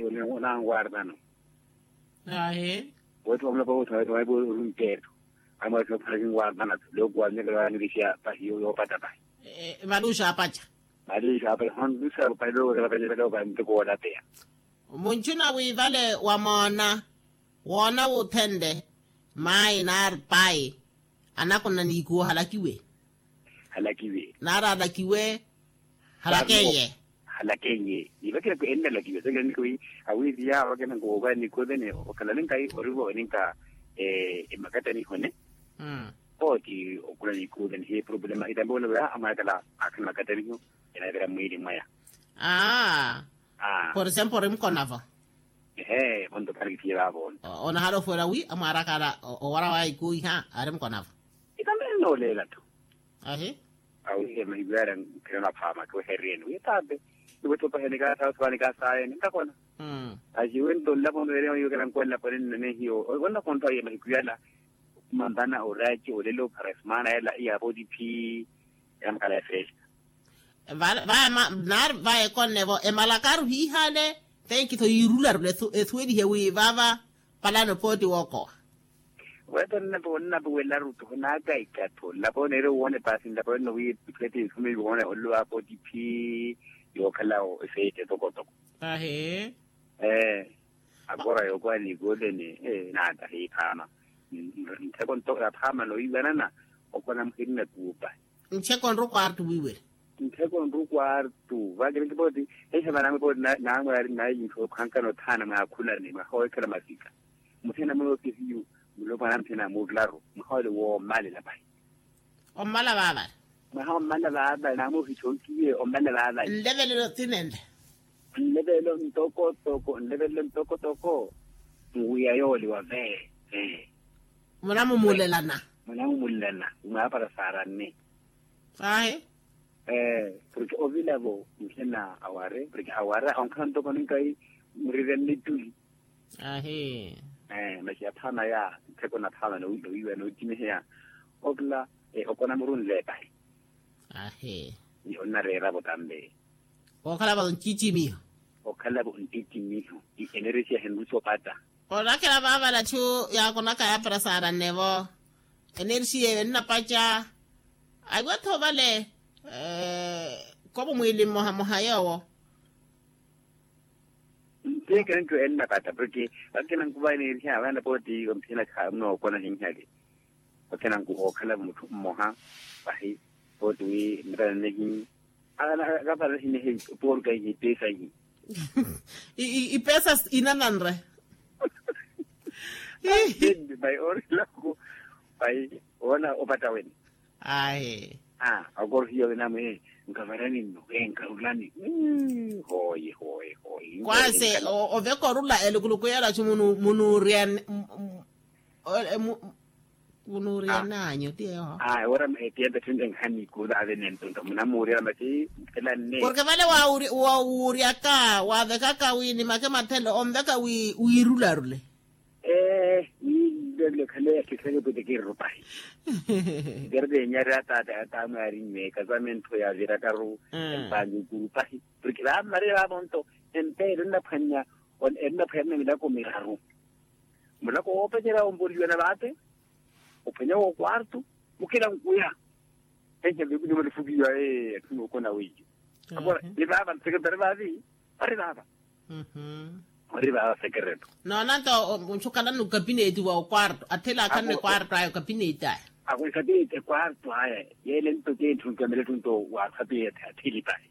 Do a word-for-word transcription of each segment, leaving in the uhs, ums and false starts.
Onanwartano. Ahi. Wethu wamulapa wotha wethu waipo orunteetho. Amwethu opharaki nwartana. Lokuwa mnyakela wanirishiya pahi yoopata pahi. Valuuxa apaca. Valuuxa apaca hondusa pahi lookela paca paca pahi ntoko wolapeya. Munchuna wi vale wamoona woona wuthenle maayi nari payi. Anakona niikuwo halakiwe. Halakiwe. Nari alakiwe. Halakenye. Halakenye. Ivakira ku ennalakiwe sekenki wi awiiviya vakena nkuwo vaniikuwo vene okhalale nkayi orivo eninka emakatani hone. Oti okula niikuwo vene hi problema itambe wona vaya amwakala akhana makatani ho. Enavira mwiili mwaya. Aa. Por example orimkonavo. Ehe vonto kharikithiye vavo. Onahala ofwela wi amwarakala owara wa ikuiha ari mukonavo. Itambele nooleela tho. Ahi. Awihe mahiku yala nkhirela phama kiwehereriyeni wi tabe. Iwetho paheni kasayo sivani kasayo nintakona. Axiwe nto nlapo nwereyo yokela nkola pone nnene hiyo. Onna konto aye mahiku yala. Mambana oraci olelo para semana yala iya poti phi. Yala makala ya festa. Vaya nari vaya ekonnevo emalakaru hiihale. Tenkitho yiirularula ethuwelihe wi vava palano pooti wookowa. Weto nnapo nnapo welaru tho naakaikatho nlapo neere woone paasi nlapo enno wi ipweeti nsume woone olelo wa pooti phi. Yookhala efeeti etokotoko. Ahi. Ee. Akora yookowa niikooleni. Ee naata hiiphaama. Ntheko nto yaphaama noowiiwanana. Okona muhirina kuupa. Ncheko nru kwartu wiiwela. Ntheko nru kwartu vakiri nkipooti. Ehe vanamwe pooti. Namwe ari nayi nthu okhankana othaana mwaakhulani mwaha weekhela masika. Muthena mwe okihiyu. Mulopwana muthena muklaru mwaha ole woomalela pahi. Ommala vaavale. Mwaha ommala vaavale namwe ohichonkiye ommala vaavale. Nlevelelo tinenle. Nlevelelo ntokotoko nlevelelo ntokotoko. Nwiya yoole wavee. Munamumulelana. Munamumulelana. Mwaapara saaranne. Ahi. Porke ovilavo nkhina aware porke aware onkhala ntoko ninkayi. Murire nnittuli. Ahi. Masi aphaama ya ntheko naphaama nowiiwa nootimiheya. Okila okona murunle epahi. Ahi. Onnareeravo tambe. Okhalavo ncicimiho. Okhalavo ncicimiho. Eneresiya henrusi opata. Orakela vaavale atthu yaakonaka yaapara saarannevo. Eneresiya eyo ennapaca. Aiwatho vale. Kovo mwiili mmoha mmoha yoowo. Nteekela nto ennapata porke vakina nkuva eneresiya vana pooti omphina khamunookona hinhale. Vakina nkuva okhala mutthu mmoha. Pahi pooti wi nnapata nnehi. Akapata hinehi. Poorka ihi peesa ihi. Ipeesa inananre. Pai orilako. Pai oona opata wene. Ayi. Akorohiya wenamwe. Nkavarani nno. Nkarulani. Hoyi hoyi hoyi. Kwase oveka orula elukuluku yela cu munuuriyani. Munuuriyani anyu tiyeho. Ora etiya mpettho nte nkhani kuula ave nentonto munamuuriyela masi. Mphela nne porke vale. Wawuuriyaka wavekaka wi ni make mathelo onveka wi wiirularule. Ee. Wiirularule khale yakhekhanyo pwete kirrupahi. Kerete enyari ataata ataamwe arinnywe kasamentho yavirakaru. Empanyu kurupahi porke vaamari vavo nto empeelo ennaphwannya. Ennaphwannya milako miraru. Mulako woopecerya omvoriwena vaate. Ophwanya w'okwartu. Mukina nkuya. Enhembe kuni malifukiwa. Ee atthu nookona weiyo. Akora ni vaava nsekretari vaavi. Vari vaava. Vari vaava sekreto. Noona nto onchukalani okapineti wa okwartu athela akhanne kwartu aya okapineti aya. Ako ekapineti ekwartu aya. Yeele nto keenthu nkamela etthu nto waakhapineti atheli pahi.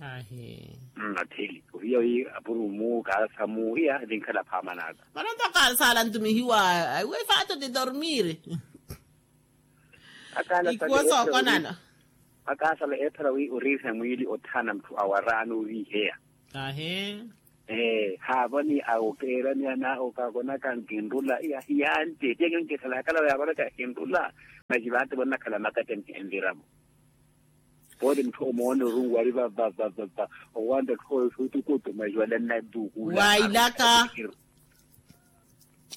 Ahi. Atheli ohiya wi apurumu kaasamu iya ninkhala phaama naaka. Mano nto kaasaala ntumihiwa. Aiwe faato ti dormire. Ikuwo sookonana. Akaasala eephara wi oriiha mwiili othaana mutthu awaraano oriiheya. Ahi. Ee haavani awo keerani ana okakonaka nkinrula iya hiyaante tiya kenkekhala yakala yakonaka hinrula. Masi vaate vonnakhala makati enviramo. Pooti mutthu omoona orungu ari vavavava. Owanta tthooyo suutukutu masi wala nnantuukula. Wailaka.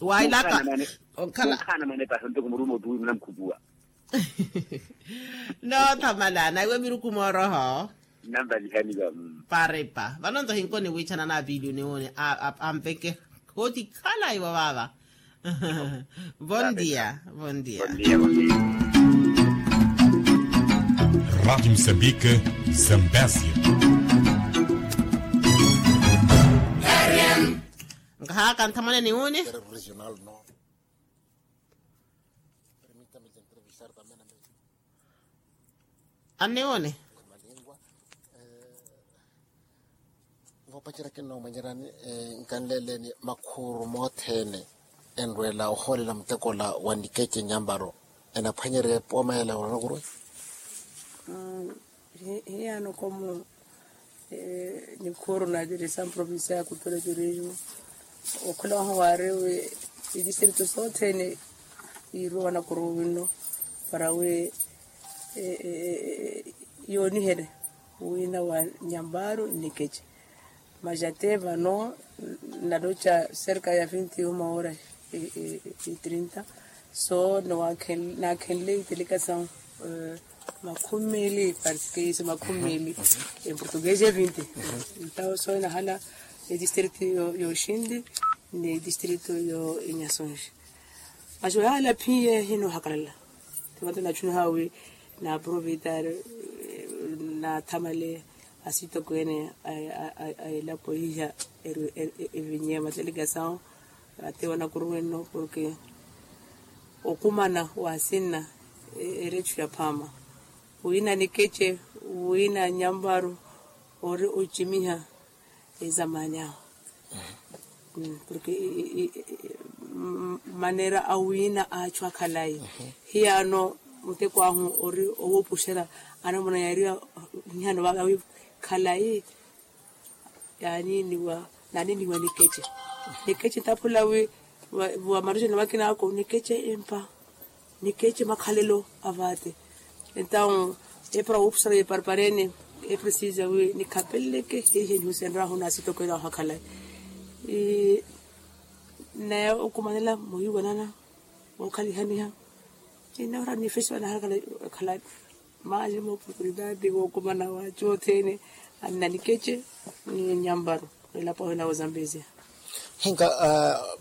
Wailaka. Onkhala mane pahi ontoko murumo tuwi munamukhupuwa. Noothamala naiwe miruku mooroho. Namvalihani vamu. Paripa vano nto hinkoni wiichana na apiili oniwone. Ampeke. Koti khalayi wa vaava. Bon dia. Bon dia. Rati musambike. Zambezia. Nkahaka nthamone niwone. Anniwone. Voopacerya kinnoomwenyerani. Nkanleeleni makhuru mothene enrweela ohoolela mutekola wa nikece nyambaro. Enaphwanyerya epooma yela wanakuruwe. Hiyaano komu. Nikhuru natirisa mprovincia ya kutura turismo. Okhula wahu waari wi itistrito sothene yiiruwa wanakuruwe winno para wi yooniherye wina wa nyambaro nnikece. Masi ate vano naloca serka ya vinti uma hora e trinta. So naakhenle itelikasawu makhumi meeli parceque iso makhumi meeli. Emportuguese e vinti. Entawu so enahala etistrito yoxinti ni etistrito yo enyasonxi. Masi oyahala phinye hinohakalala. Tivanto nachuniha wi naprovitar nathamale asitokweene a elapo iha evinye mateligasawo. Ate wanakuruwe nno porke okumana wa sinna erecho ya phaama wina nikece wina nyamvaru ori ocimiha. Ezamani awo porke manera awina achu akhalayi. Hiyaano muteko ahu ori owupuxera anamuna yaariwa nhiyano vaka wi khalayi. Yaaniniwa naaniniwa nikece nikece ntaphula wi wa marujeni vakina ako nikece empa. Nikece makhalelo avaate entawu epara wuupuxera yeparepareene eprecisa wi nikhapeleke hiihe nihusenryahu naasitokwela wahu akhalayi. Naye okumanela muhiwanana wookhalihaniha. Inahora nifesiwa naharakhala ekhala maasi mooportunitaati wookumana waacu othene anna nikece ni nyamvaru. Elapo ahina wozambezia. Hinka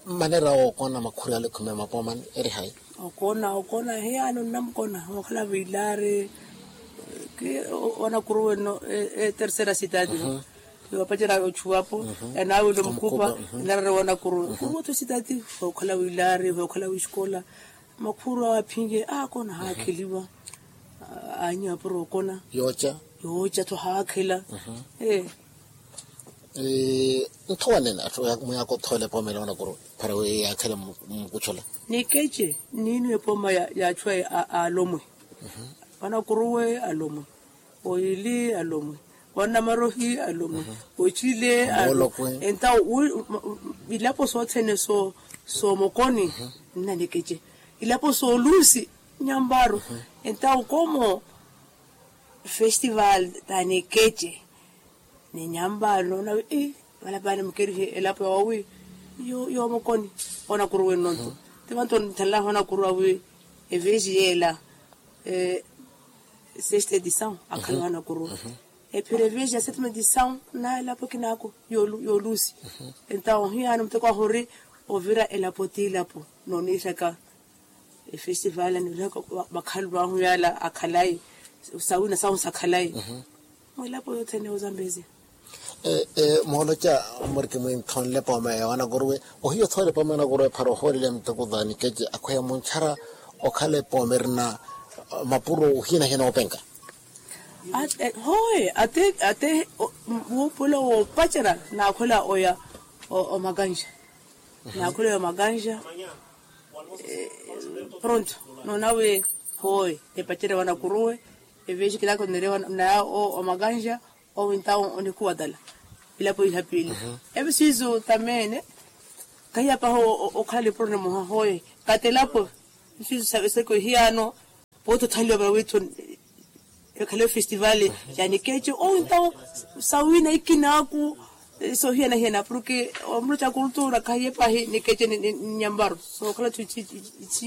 manera ookona makhuri ale khumi ya mapoomani eri hayi? Okoona okoona hiyaano nnamukona wookhala vilaari. Wanakuruwe nno etersera sitati no yoopacerya ochuwapo. Enawile omukupa enarara wanakuruwe kuruwe otho sitati. Hookhala wilaari hookhala wixikola. Makhuru awo aphinke aakona haakheliwa. Aanyu apuro okona yooca yooca tho haakhela. Ee. Ntho wanene atthu mwiyaaka othoole epooma ela wanakuruwe para wi yaakhele mmukuchola. Nikece niiniwe epooma ya achu aya alomwe. Wanakuruwe alomwe oyili alomwe wanamarohi alomwe ocile alomwe. Entawo ilapo sothene soomokoni nna nikece ilapo soolusi nyambaru. Entawo komo festival tanikece ni nyambaru noona wi valapani mukerihe elapo yawawi yoomokoni. Onakuruwe nnonto tivanto nthanlaho onakuruwa wi evesi yeela sexta edição akhala wanakuruwa ephira evesi ya setma edição na elapo kinaako yoolusi. Entawo hiyaano muteko ahu ori ovira elapo ti elapo nooniiraka efestival anirihaka vakhalulu ahu yaala akhalayi sawina sahu sakhalayi mwilapo yothene ozambezia. Mooloca muriki mwinthonle epooma ya wanakuruwe ohiya othoole epooma ya wanakuruwe phara ohoolele muteko thanikece akhweya munchara okhala epooma erina mapuro ohinahina oopenka. Hoye ate ate wuupuwela woopacerya naakhwela oya omakanxa. Naakhwela oya omakanxa pronto noona wi hoye epacerya wanakuruwe evexikilaka oneriwa naya omakanxa. Owi ntawo onikhuwa tala ilapo iha piili. Episiisu tamene kahiyapaha okhala lipuro nimoha hoye katelapo. Episiisu seko ihiyaano pooti othaliwa para witho ekhale festival ya nikece owi ntawo sawina ikinaaku. Sohiyanahiyana porke omuro ca kultura kahiyepahi nikece ni nyambaro sookhala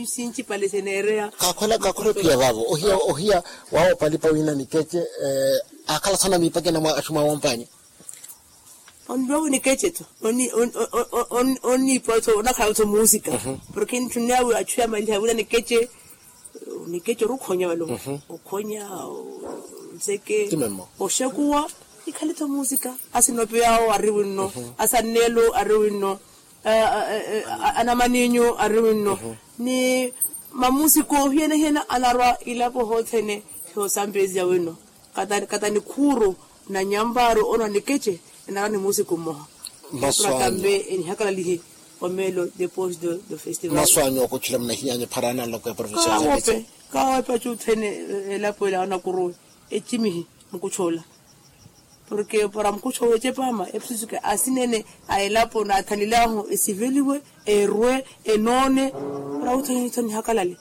sinci pale seneereya. Kakhwela kakhwela ophiya vaavo ohiya ohiya waawo palipa wina nikece. Akhala sana miipakena mwa axumwa wompanyi. Onrowa wi nikece tho. Oniipa tho onakhala tho muusika. Porke nitthunneya wi achu yamaliha wina nikece. Nikece orukhonya walo. Okhonya, nseke, oxekuwa. Ikhale tho muusika. Asinopeyawo ari winno. Asanneelo ari winno. Anamaninyu ari winno. Ni mamuusika ohiyana-hiyana anarwa ilapo hothene. Hiyosambezi ya winno. Kata nikhuuru na nyampaaru ono nikece. Enara ni muusiku mmoha. Masu anyu. Enihakalalihi. Omeelo depois do festival. Masu anyu okutthula munahiyanya phara nanloka eprovincia ya zambezi. Kawope achu othene. Elapo ela anakuruwe ecimihi mukuchoola. Porke para mukuchoola ecepaama epususuke asinene a elapo naathanilaahu esiveliwe, erwe, enoone. Para othene nihakalale.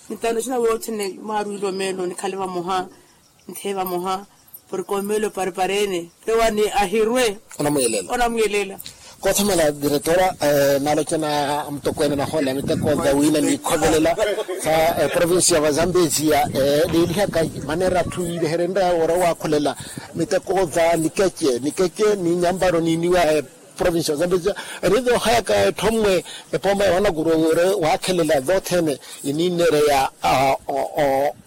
Nitano sina wothene mwaarwile omeelo nikhale vamoha. Ntheye vamoha. Porke omeelo paripareene. Tewani ahirwe. Onamwiyelela. Onamwiyelela. Koothamala diretora. Naalocana mutokweene nahoola miteko vawina niikhovelela sa eprovincia va zambezia. Niilihaka maneera atthu yiiveherenrya woora waakhulela miteko va nikece nikece ni nyamparo niiniwa. Provincia zambezia. Eri voohayaka etthommwe epooma ya wanakuruwe wira waakhelela vothene. Iniineereya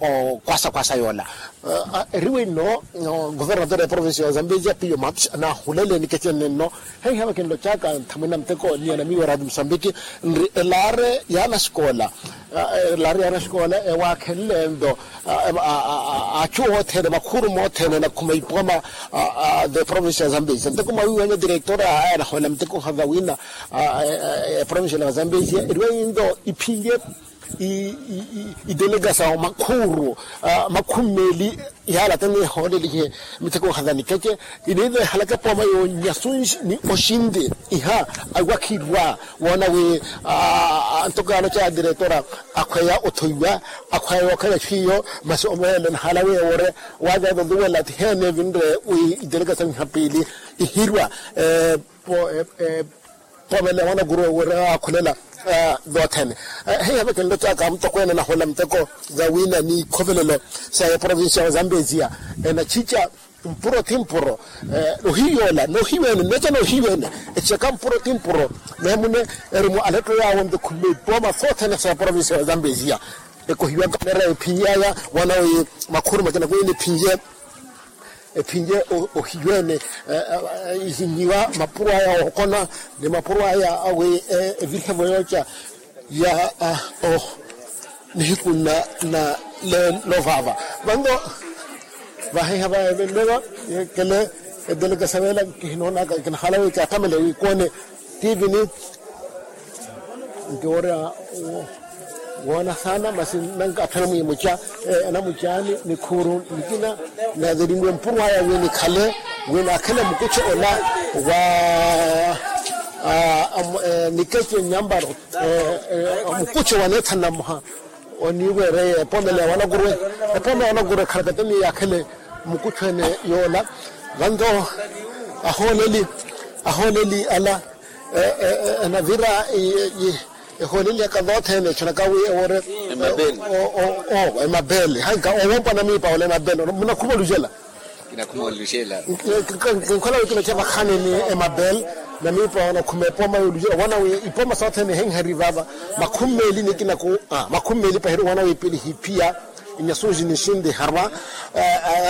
okwasa-kwasa yoola. Eri winno governator ya provincia ya zambezia piyo max anahulele nikecene nno. Heiha vakinlocaka nthamwina muteko niya na miyo raati musambiki nri elaare ya nasikoola. Elaare ya nasikoola ewaakhenle nto achu othene makhuuru mothene anakhuma ipooma. The provincia ya zambezia nteko mwawiiwanya director aya anahoolela miteko hava wina. Provincia ya zambezia eriwa yinto iphinlye idelegasawo makhuuru makhumi meeli. Ihaala tene ehoolelihe miteko hava nikece. Iniivehalaka epooma yoonyasunji ni oxinti iha awakhirwa woona wi ntoko yaaloca ya diretora akhweya othoiwa akhweya yookhala etthu iyo. Masi omeelo nahaala wi ewore waavya voluwela tiheene evinre wi idelegasawo iha piili ihirwa. Pomele wanakuruwe wira waakhulela. Vothene heiha vakinlocaka mutokweene nahoolela miteko za wina ni ikhovelelo sa eprovincia wa zambezia enachica mpuro ti mpuro. Nohiyoola nohiweene nneca nohiweene echeka mpuro ti mpuro. Neemune eri mu aletto yaawo nto khumeipooma sothene sa eprovincia wa zambezia. Ekohiwaka nera ephinye aya wana wi makhuuru makina kwiini ephinye. Ephinye ohiweene ihinyiwa mapuro aya ookona ni mapuro aya awi evirihevo yooca ya nihiku na leelo vaava. Vanto vahiha va evenleva kele edelekesa veela kihinoonaka kinahala wi kyatamele wi koone. Tivini nkiwoorya woona saana masi nanka atthana mwiimuca anamucaani nikhuuru nikina. Navelinwe mpuro aya wi nikhale wi naakhele mukucho ola wa nikece nyamparo mukucho wa neethana mmoha. Oniiweereye epoomela ya wanakuruwe epoomela ya wanakuruwe ekhalakateni yaakhele mukucho ene yoola. Vanto ahooleli ahooleli ala enavira ehooleli aka vothene echonaka wi ewore emabele. Haika owompwa namiipa ola emabele munakhuma olujela. Kinkhola wi kinocha vakhaneni emabele namiipa onakhuma epooma yolujela owana wi ipooma sothene ehenheri vava. Makhumi meeli nikinaku makhumi meeli pahiri owana wi pili hiphiya inyasunji nixinti harwa.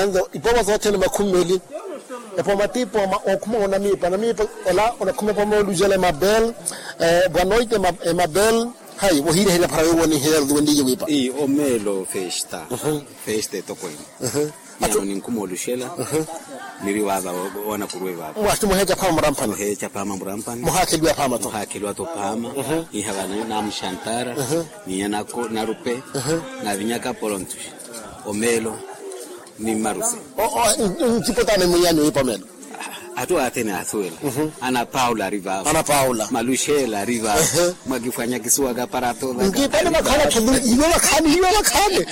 Anto ipooma sothene makhumi meeli epooma ti ipooma okhuma onamiipa namiipa ola onakhuma epooma yolujela emabele. Bwanoite emabele. Hayi wohiireherya phara yowoniheya wenliye wiipa. Omeelo festa festa etokwene. Niyano ninkhuma oluxela niri waava wanakuruwe vaava. Mwati muheeca phaama muramphani muheeca phaama muramphani muhaakheliwa phaama to muhaakheliwa to phaama. Iha vana namuxantara niya nako narupe navinyaka porontuxi omeelo ni mmaruse. Ncipotana mwiyanyu ipa omeelo. Atthu athene aathuwela ana paula ari vaavo ana paula maluxela ari vaavo. Mwakifwanya kisuwaka para ato nkiipale vakhala khali iwe vakhale.